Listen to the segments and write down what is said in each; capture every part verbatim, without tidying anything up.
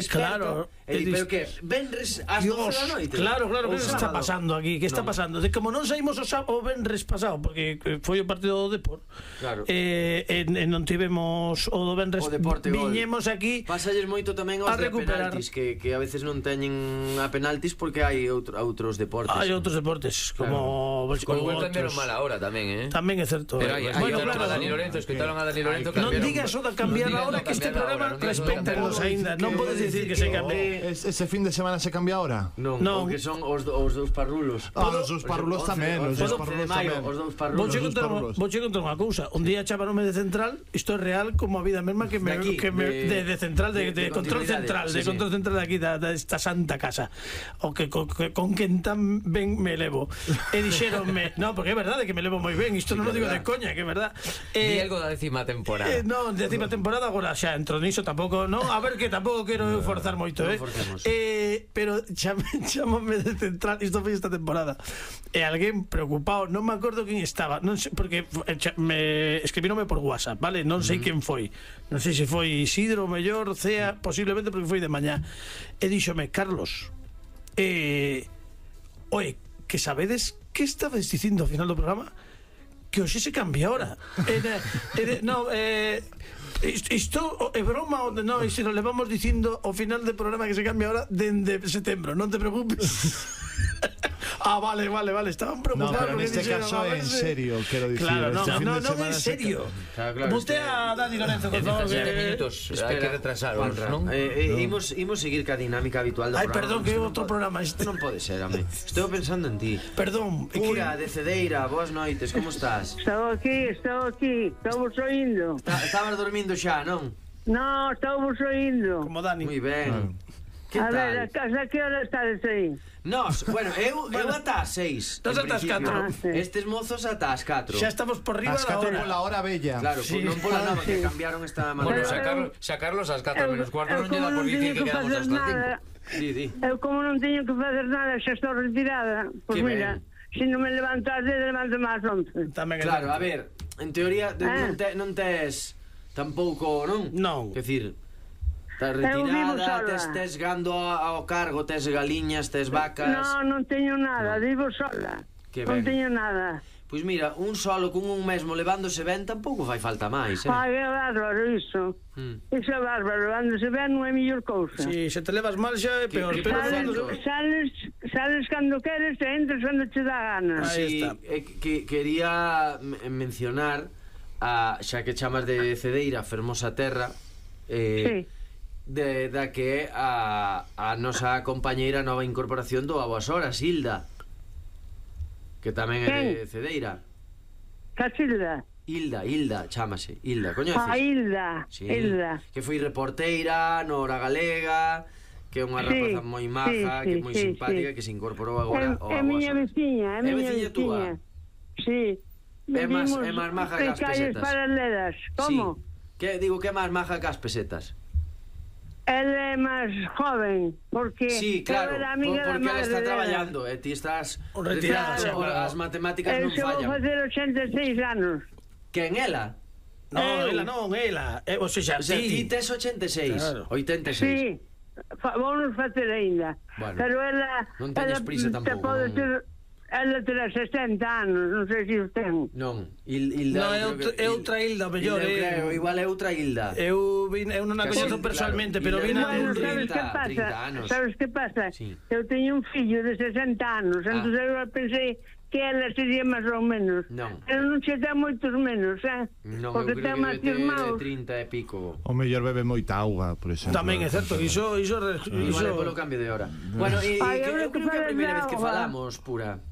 Claro, e di, pero que venres ás doce da noite. Claro, claro, que está pasando aquí? Que está pasando? De como non saímos o, o venres pasado, porque foi o partido do Depor. Claro. Eh, e, e non tivemos o do venres, o Deporte viñemos gol. aquí. Pásalles moito tamén aos de penaltis, que, que a veces non teñen a penaltis porque hai outro, outros deportes. Hai outros deportes, como claro. Con gol cambiaron mal ahora tamén, eh? Tamén é certo. Pero hai, bueno, hai claro, a Dani Lorenzo, escoitaron a Dani Lorenzo. Non digas o da cambiar a hora, que este programa respéctanos aínda. Non podes dicir que se cambie. Ese fin de semana se cambia ahora? Non, no. Que son os, os dous parrulos. Ah, os dous parrulos tamén. Os dous parrulos tamén. Os dous parrulos. Vou che contar unha cousa. Un día chamanome de central. Isto é real como a vida mesma que me, de, aquí, que me de, de, de central, de, de, de control central, sí, de control sí. central de aquí, da, da esta santa casa. O que con, que, con quen tan ben me levo. E dixeronme, no, porque é verdade que me levo moi ben. Isto sí, non o digo de coña, que é verdad. Eh, Di algo da décima temporada. Eh, non, décima temporada agora xa entro niso tampouco, non? A ver que tampouco quero no, forzar moito, eh. Eh, pero chamame de central, isto foi esta temporada. E alguén preocupado, non me acordo quen estaba, non sei, porque me escribínome por WhatsApp, vale? Non sei quen foi. Non sei se foi Isidro, mellor, Cea, posiblemente porque foi de mañá. E díxome, Carlos, eh, oe, que sabedes que estabas dicindo ao final do programa? Que hoxe se cambia ahora. Era, era, no, eh isto é broma ou non, e se nos levamos dicindo ao final do programa que se cambia ahora dende setembro, non te preocupes. Ah, vale, vale, vale, estaban preocupados. No, pero neste caso é en serio, quero dicir. Claro, no, no, no, en serio. Vote a Dani Lorenzo, por favor. Hai que retrasarlos, non? Imos seguir ca dinámica habitual do programa. Ai, perdón, que é outro programa este. Non pode ser, ame. Estou pensando en ti. Perdón. Pura, de Cedeira, boas noites, como estás? Estou aquí, estou aquí, estamos oindo. Estabas dormindo xa, non? No, estamos oindo. Como Dani. Moi ben. A ver, a que hora estás aí? Nos, bueno, eu, eu ata as seis. Nos ata as catro. Ah, sí. Estes mozos ata as catro. Xa estamos por riba as da catro hora. pola hora bella. Claro, sí. Non pola nova, que cambiaron esta mañana. Bueno, mañana. sacarlos, sacarlos ás catro menos cuarto non lle dá por dicir que quedamos hasta as cinco. Di, di. Eu como non teño que facer nada, xa estou retirada. Pois pues mira, se non me levanto ás dez, levanto máis once. Claro, a ver, en teoría non, te, non tes tampouco, non? Non. Que decir, estás retirada, tes, tes gando ao cargo, tes galiñas, tes vacas. Non, non teño nada, vivo sola. Non teño nada. Pois mira, un solo con un mesmo levándose ben tampouco fai falta máis, eh? Ai, é bárbaro iso. Hmm. Iso é bárbaro, levándose ben non é mellor cousa. Si, se te levas mal xa é peor. Que, pero sales, sales, sales cando queres e entras cando te dá gana. Aí está. Eh, que quería mencionar a, xa que chamas de Cedeira, Fermosa Terra, eh, sí. de, da que a, a nosa compañeira nova incorporación do A Boas Horas, Hilda, que tamén é de Cedeira. Cachilda? Hilda, Hilda, chámase Hilda, coñeces? Ah, Hilda, sí. Hilda. Que foi reporteira no Hora Galega, que é unha rapaza sí, moi maja, sí, que é moi sí, simpática, sí. Que se incorporou agora ao É miña veciña, é miña veciña. Sí. É máis é máis maja que as pesetas. Paralelas. Como? Sí. Que digo que é máis maja que as pesetas. Ela é máis joven, porque sí, claro, era amiga por, porque ela está traballando e ti estás retirada, claro. As matemáticas non fallan. Eu vou facer ochenta e seis anos. Quen, ela? Non, ela non, ela. Eh, o sea, o sea, ti tes ochenta e seis, claro. oitenta e seis. Sí, vamos facer aínda. Bueno, pero ela non teñes prisa tampouco. Te pode ter, ela terá sesenta anos, non sei se o ten. Non, Il, Hilda, no, é outra Hilda, mellor, eh. Igual é outra Hilda. Eu vin, eu non a coñezo personalmente, claro, pero vin a bueno, sabes que pasa? Sabes que pasa? Sí. Eu teño un fillo de sesenta anos, ah. Entón eu pensei que ela sería máis ou menos. Non. Pero non che dá moitos menos, eh? Non, porque eu creo que debe ter trinta e pico. O mellor bebe moita auga, por exemplo. Tamén é certo, iso iso iso vale polo cambio de hora. Bueno, e eu creo que é a primeira vez que falamos, Pura.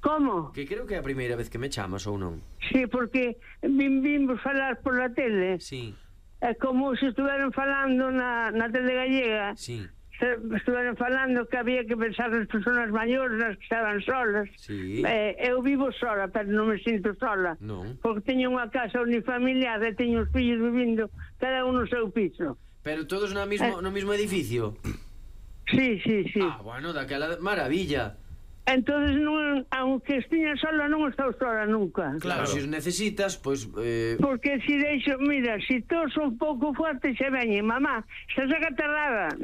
Como? Que creo que é a primeira vez que me chamas ou non? Sí, porque vim, vimos falar por la tele. Sí. É como se estuveran falando na, na tele gallega. Sí. Estuveran falando que había que pensar nas persoas maiores, nas que estaban solas. Sí. Eh, eu vivo sola, pero non me sinto sola. Non. Porque teño unha casa unifamiliar e teño os fillos vivindo cada un no seu piso. Pero todos no mismo, eh. no mismo edificio? Sí, sí, sí. Ah, bueno, daquela maravilla. Entonces, non, aunque estiña sola, non estou sola nunca. Claro, se os necesitas, pois... Eh... Porque se deixo, mira, se toso un pouco forte, se veñe, mamá, estás acatarrada.